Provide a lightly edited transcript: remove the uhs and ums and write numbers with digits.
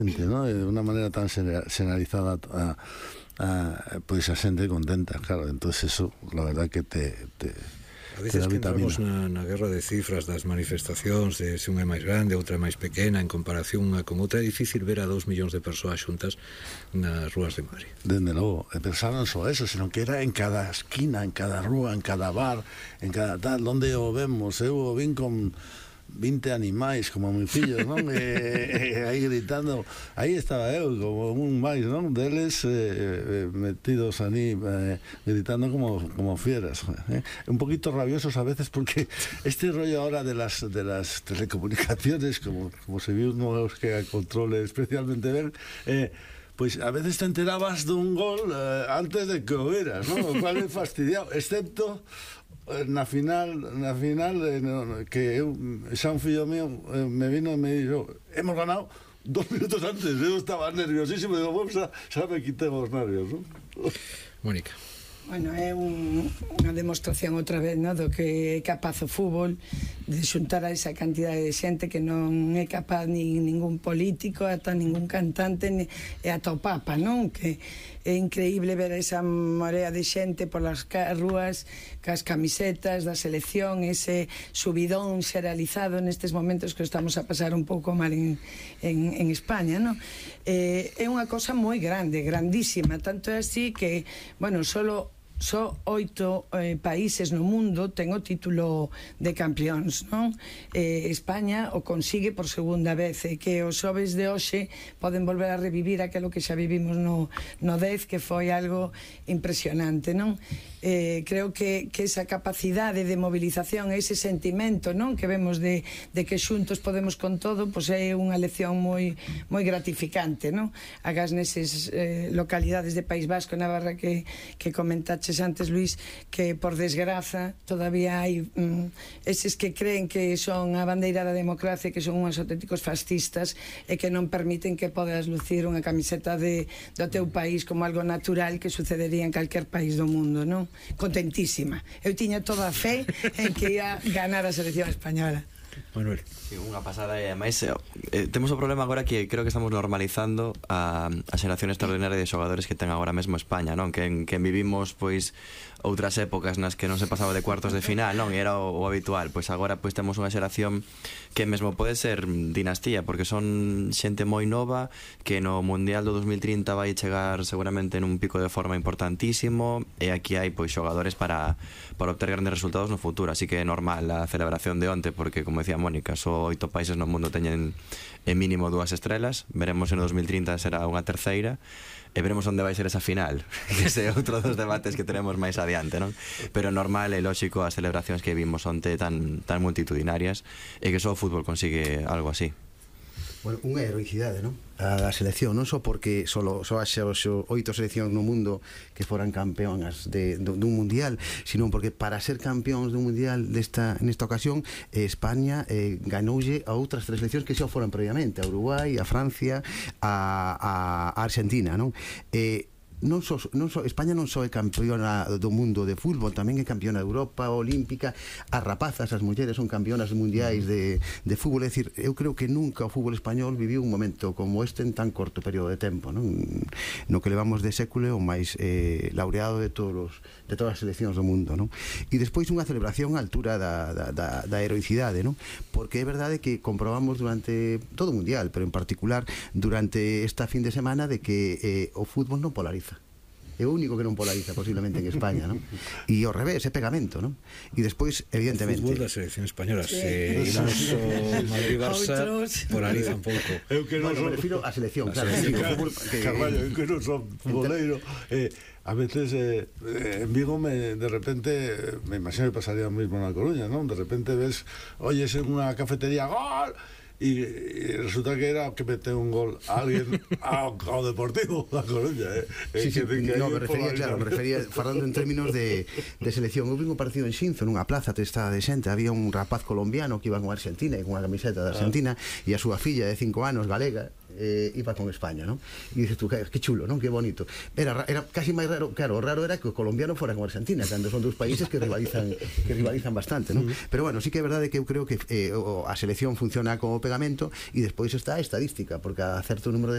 ¿no? De una manera tan generalizada pois a xente contenta, claro, entonces eso, la verdad que a veces que entramos na guerra de cifras das manifestacións, de se unha é máis grande, outra é máis pequena, en comparación unha con outra, é difícil ver a 2 millóns de persoas xuntas nas rúas de Madrid. Dende logo, pensar non só eso, sino que era en cada esquina, en cada rúa, en cada bar, en cada tal, onde o vemos, eu o vin con 20 animais como mis fillos, non? Aí gritando, aí estaba eu como un máis, non? Deles metidos ali gritando como fieras, un poquito rabiosos a veces, porque este rollo ahora de las telecomunicaciones, como se viu nos que controle especialmente ben, pois a veces te enterabas dun gol antes de que o veras, non? O cual é fastidiado, excepto na final que xa un fillo mío me vino e me dixo, hemos ganado 2 minutos antes, eu estaba nerviosísimo, digo, xa me quitei os nervios, non? Mónica. Bueno, é unha demostración outra vez, no, do que é capaz o fútbol de xuntar a esa cantidade de xente que non é capaz ni ningún político, ata ningún cantante, e ata o Papa, non? Que é increíble ver esa morea de xente polas rúas cas camisetas da selección, ese subidón xeralizado nestes momentos que estamos a pasar un pouco mal en España, non? É unha cosa moi grande, grandísima, tanto é así que, bueno, só 8 países no mundo ten o título de campeóns, non? España o consigue por segunda vez, e que os xoves de hoxe poden volver a revivir aquilo que xa vivimos no 10, que foi algo impresionante, non? Creo que esa capacidade de movilización, ese sentimento, non? Que vemos de que xuntos podemos con todo, pois é unha lección moi gratificante, non? Agás neses localidades de País Vasco, Navarra, que comentaches antes, Luís, que por desgraza todavía hai eses que creen que son a bandeira da democracia, que son unhos auténticos fascistas e que non permiten que podas lucir unha camiseta do teu país como algo natural que sucedería en calquer país do mundo, non? Contentísima. Eu tiña toda a fe en que ia ganar a selección española. Manuel. Sí, unha pasada, e ademais temos o problema agora que creo que estamos normalizando a xeración extraordinaria de xogadores que ten agora mesmo España, non? Que vivimos pois outras épocas nas que non se pasaba de cuartos de final, non? E era o habitual. Pois agora pois temos unha xeración que mesmo pode ser dinastía, porque son xente moi nova que no Mundial do 2030 vai chegar seguramente nun pico de forma importantísimo, e aquí hai pois xogadores para obter grandes resultados no futuro, así que é normal a celebración de onte, porque como decía Mónica, só 8 países no mundo teñen en mínimo 2 estrelas. Veremos se no 2030 será unha terceira, e veremos onde vai ser esa final, que ese é outro dos debates que tenemos máis adiante, non? Pero normal e lógico as celebracións que vimos onte tan multitudinarias, e que só o fútbol consigue algo así. Bueno, unha heroicidade, non? A selección, non só porque só haxa 8 seleccións no mundo que foran campeónas dun mundial, sino porque para ser campeóns dun mundial nesta ocasión, España ganoulle a outras 3 seleccións que xa foran previamente, a Uruguai, a Francia, a Argentina, non? España non só é campeona do mundo de fútbol, tamén é campeona de Europa, olímpica. As rapazas, as mulleres son campeonas mundiais de fútbol. É dicir, eu creo que nunca o fútbol español viviu un momento como este en tan corto período de tempo, non? No que levamos de século o máis laureado de todas as seleccións do mundo, non? E despois unha celebración á altura da heroicidade, non? Porque é verdade que comprobamos durante todo o mundial, pero en particular durante esta fin de semana, de que o fútbol non polariza. É o único que non polariza posiblemente en España, non? E ao revés, é pegamento, non? E despois, evidentemente, o fútbol da selección española, se imos o Madrid-Barça, polariza un pouco. Eu que non me refiro á selección, claro. Carballo, eu que non son futboleiro, a veces en Vigo de repente, me imagino que pasaría o mismo na Coruña, non? De repente ves, oyes en unha cafetería, ¡gol! E resulta que era que mete un gol a alguén ao Deportivo da Coruña. Sí, me refería falando en términos de selección. Houve un partido en Xinzo, nunha plaza testada de xente, había un rapaz colombiano que iba con Argentina e con unha camiseta de Argentina, e a súa filla de 5 anos, galega, iba con España, non? E dices tú, que chulo, non? Que bonito. Era casi máis raro, claro, o raro era que o colombiano fora con Argentina, cando son 2 países que rivalizan bastante, non? Pero bueno, sí que é verdade que eu creo que a selección funciona como pegamento, e despois está a estadística, porque a certo número de